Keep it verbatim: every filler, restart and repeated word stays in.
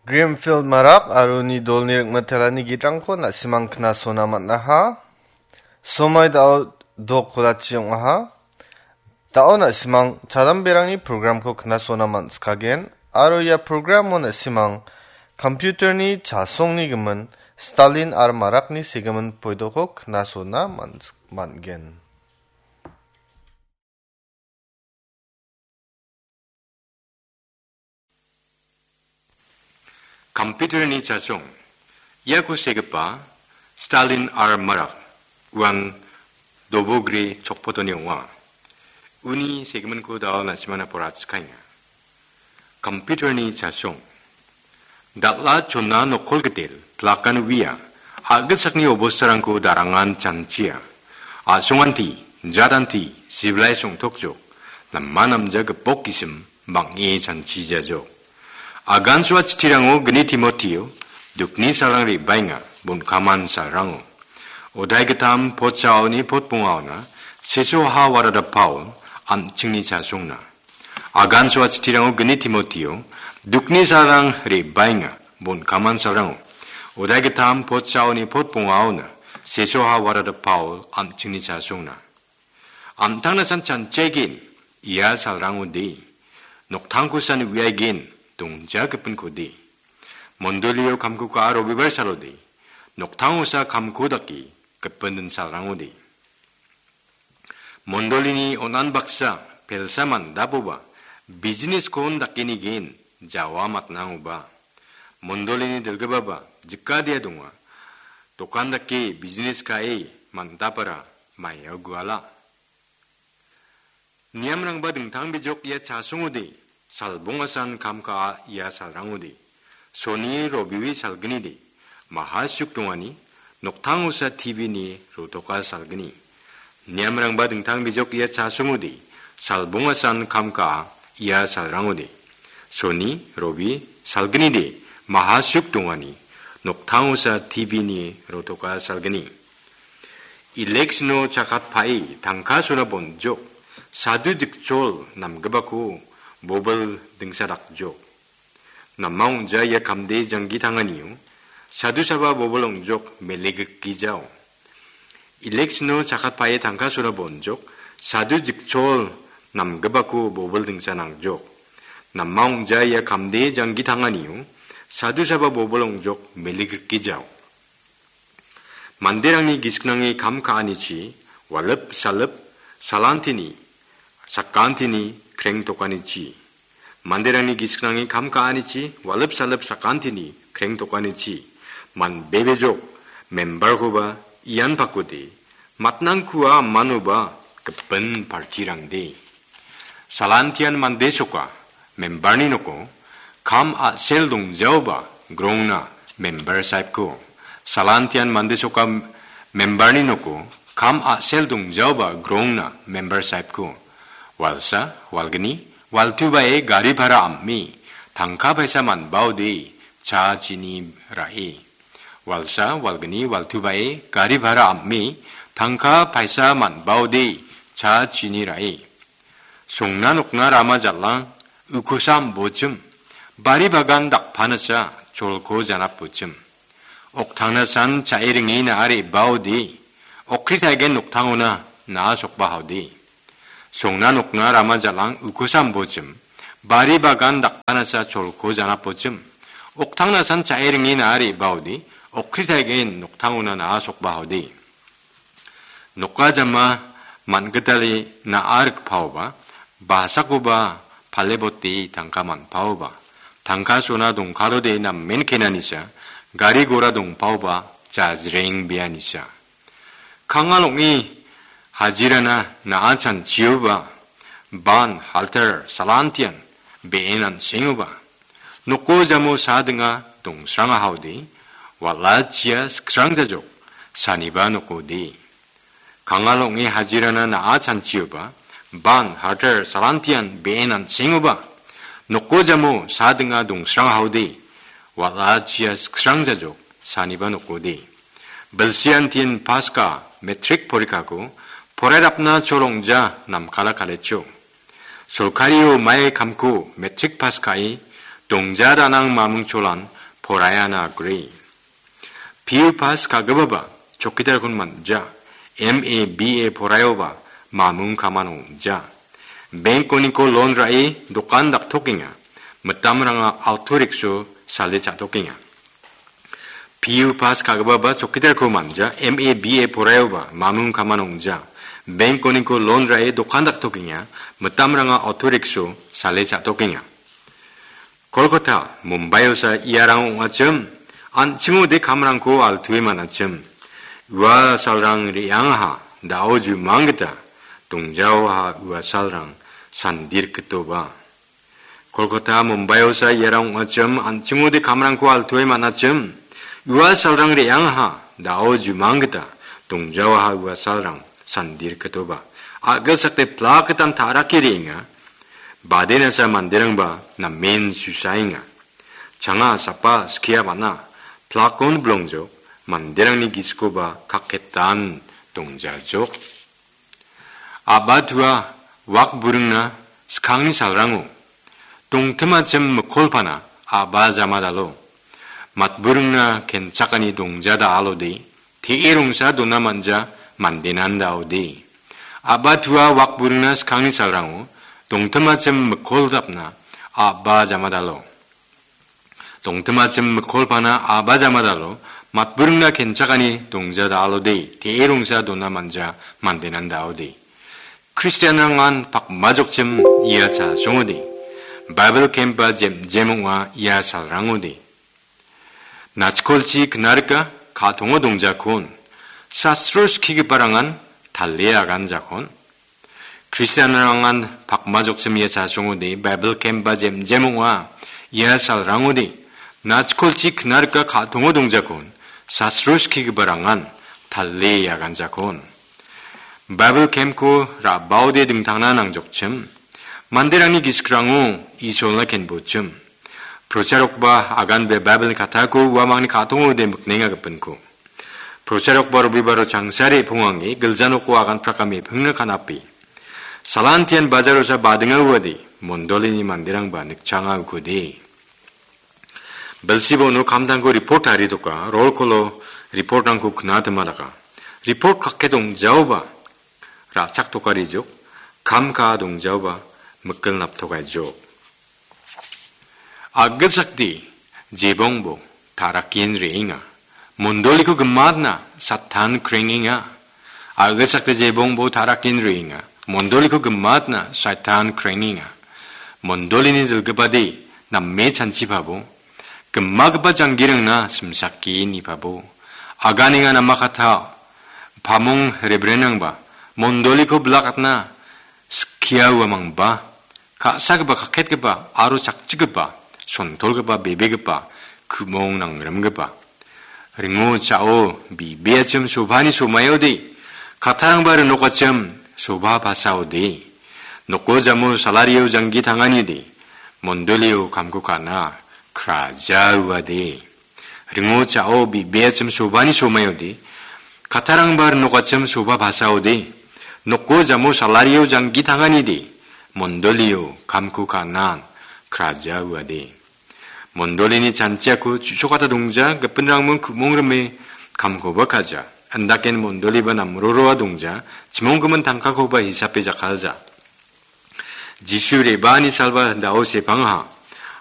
Greenfield Marak aro uni dolni ringmatelani gitrangko na·simang knasona man·aha. Somoi dao dok kolachi ong·aha. Dao na·simang chadamberangni programko knasona man·sikagen, aro ia programo na·simang computerni chasongni gimin Stalin aro Marakni segimin poidoko knasona man-, man·gen. Computerni chasong. Iako segipa Stalin R Marak uan dobogri chokpotoni ong·a. Uni segiminko dao na·simana porachikaenga. Computerni chasong. Dal·a chona nokol gitel, plakan uia, a·gilsakni obostarangko darangan chanchia. A·songanti, jadanti, sibilai songtokjok, nama namja gipok gisim, bang·e chanchijajok. Agansoa chitirango gni Timotio, dukni salrang re·baenga, bonkaman salrango. Odai gitam potchaoni potbongaona, sesoha warada Paul, an·chingni chasongna. Agansoa chitirango gni Timotio, dukni salrang re·baenga, bonkaman salrango. Odai gitam potchaoni potbongaona, sesoha warada Paul, an·chingni chasongna. Amtangna san chanchaigen, ia salrangode. Noktangko san uiaigen, dongja gipinkode. Mondolio kamko ka·a robibar salode. Noktangosa kamko dake, gipin din salrangode. Mondolini on·an baksa, pelsa mandaboba, business-kon dakenigen, jawa matnangoba. Mondolini dilgipaba, jikadia donga. Dokan dake business ka·e, mandapara, maio guala. Niamrangba dingtang bijok ia chasongode, salbongasan kam ka·a ia salrangode. Soni robiwi salgnide, maha suk dongani, noktangosa T V ni rotoka salgni. Niamrangba dingtang bijok ia chasongode, salbongasan kam ka·a ia salrangode. Soni robi salgnide, maha suk dongani, noktangosa T V ni rotoka salgni. Election-o chakatpae tangka sona bonjok, sadu dikchol namgipako bobil dingsa dakjok. Namang ong·ja ia kamde janggi tanganio, sadu saba bobil ong·jok mele grikgijao. Election-o chakatpae tangka sona bonjok, sadu dikchol namgipako bobil dingsa nangjok. Namang ong·ja ia kamde janggi tanganio, sadu saba bobil ong·jok mele grikgijao. Manderangni gisik nange kam ka·anichi, walip salip, salantini, sakantini, krengtokanichi. Manderangni gisik nange kam ka·anichi, walip salip, sakantini, krengtokanichi. Man bebejok, member-koba ian pakode, matnangkua manoba gipin partirangde. Salantian mande soka, member-ni noko, kam a·sel dongjaoba grongna member saipko. Salantian mande soka member-ni noko, kam a·sel dongjaoba grongna member saipko. Walsa, walgni, waltubae gari bhara am·e, tangka paisa manbaode, cha chini ra·e. Walsa, walgni, waltubae gari bhara am·e, tangka paisa manbaode, cha chini ra·e. Songna nokna rama jal·ang, ukosa am·bochim, bari bagan dakpanasa cholko janapbochim. Oktangna san cha·e ringe na·are baode, okritaigen noktangona na·a sokbahaode. Songna nokna rama jal·ang ukosa am·bochim, bari bagan dakpanasa cholko janapbochim. Oktangna san cha·e ringe na·are baode, okritaigen noktangona na·a sokbahaode. Noka jama man·gitale na·a rikpaoba, basakoba pale bote tangka man·paoba, tangka sona dongkalode namen kenanisa, gari gora dongpaoba jajreng bianisa. Kangal ong·e hajirana na·a chanchioba, ban halter salantian be·en an·sengoba, noko jamo sa dinga dongsrangahaode, wal·achia siksrangjajok, saniba nokode. Kangal ong·e hajirana na·a chanchioba, ban halter salantian be·en an·sengoba, noko jamo sa dinga dongsrangahaode, wal·achia siksrangjajok, saniba nokode. Bilsiantin paska metrik porikako porairapna cholongja namkala kalecho. Solkario mai kamko metrik pas ka·e dongja danang maming cholan poraiana agree. P U pass ka·gipaba chokkidarkon man·ja. M A, B A poraioba mamung kaman ong·ja. Bank-oniko loan ra·e dokan daktokenga. Mitamranga auto rickshaw sale cha·tokenga. P U pass ka·gipaba chokkidarko man·ja. M A, B A poraioba mamung kaman ong·ja. Bank-oniko loan ra·e dokan daktokenga. Mitamranga auto rickshaw sale cha·tokenga. Kolkata, Mumbaiosa iarang ong·achim, an·chingode kamrangko altuwe man·achim. Ua salrang re·angaha, da·o jumang gita, dongjaoaha ua salrang sandirkitoba. Kolkata, Mumbaiosa iarang ong·achim, an·chingode kamrangko altuwe man·achim. Ua salrang re·angaha, da·o jumang gita, dongjaoaha ua salrang sandirkitoba. A·gilsakde plak gitan ta·rake re·enga. Badenasa manderangba namen susaenga. Changa sapa skia man·a, plakon bilongjok, manderangni gisikoba kaketan dongjajok. A·ba tua wak buringna skangni salrango, dongtimachim mikolpana a·ba jamadalo, matburingna kenchakani dongjada alode, te·e rongsa dona man·ja mandenan da·ode. A·ba tua wak buringna skangni salrango, dongtimachim mikoltapna a·ba jamadalo. Dongtimachim mikolpana a·ba jamadalo, matburingna kenchakani dongjada alode, te·e rongsa dona man·ja mandenan da·ode. Kristianrangan pakmajokchim ia chasongode. Baibel kempa jemjem ong·a ia salrangode. Nachkolchi knarika ka·tongo dongjakon. Sastro skigiparangan tale aganjakon. Kristianrangan pakmajokchim ia chasongode, Baibel kempa jemjem ong·a ia salrangode, nachkolchi knarika ka·tongo dongjakon, sastro skigiparangan tale aganjakon. Baibel kemko ra·baode dingtangna nangjokchim, manderangni gisikrango Isolna kenbochim. Procharokba aganbe Baibelni katako uamangni ka·tongode miknenga gipinko. Procharokba Robibaro changsare pongange gilja noko agan prakame pingna kanape. Salantian bajarosa badinga uade, mondolini manderangba nikchanga ukode. Belsibono kamtangko report taritoka, roll call-o report-rangko knatima daka. Report kake dongjaoba, ra·chak tokarijok, kam ka·a dongjaoba, mikil naptokaijok. A·gilsakde jebongbo ta·rakin re·enga. Mondoliko gimatna Satan krengenga. A·gilsakde jebongbo ta·rakin re·enga. Mondoliko gimatna Satan krengenga. Mondolini dilgipade name chanchipabo. Gimagipa janggirangna simsake nipabo. Aganenga namakata pamong rebrenrangba mondoliko bilakatna skia uamangba. Ka·sagipa, kaketgipa aro chakchikgipa, sontolgipa, bebegipa, ku·mong nangrimgipa. Ringo cha·o, bibeachim sobani somaode, kattarangba rinokachim soba pasaode. Noko jamo salario janggi tanganide, mondolio kamko ka·na kraja uade. Ringo cha·o, bibeachim sobani somaode, kattarangba rinokachim soba pasaode, noko jamo salario janggi tanganide, mondolio kamko ka·na kraja uade. Mondolini chanchiako chu·sokata dongja, gipinrangmon ku·mong rime kamkoba ka·ja. Andaken mondoliba namroroa dongja, chimonggimin tangkakoba hisape jakkalja. Jisu re·baani salba da·o sepangaha.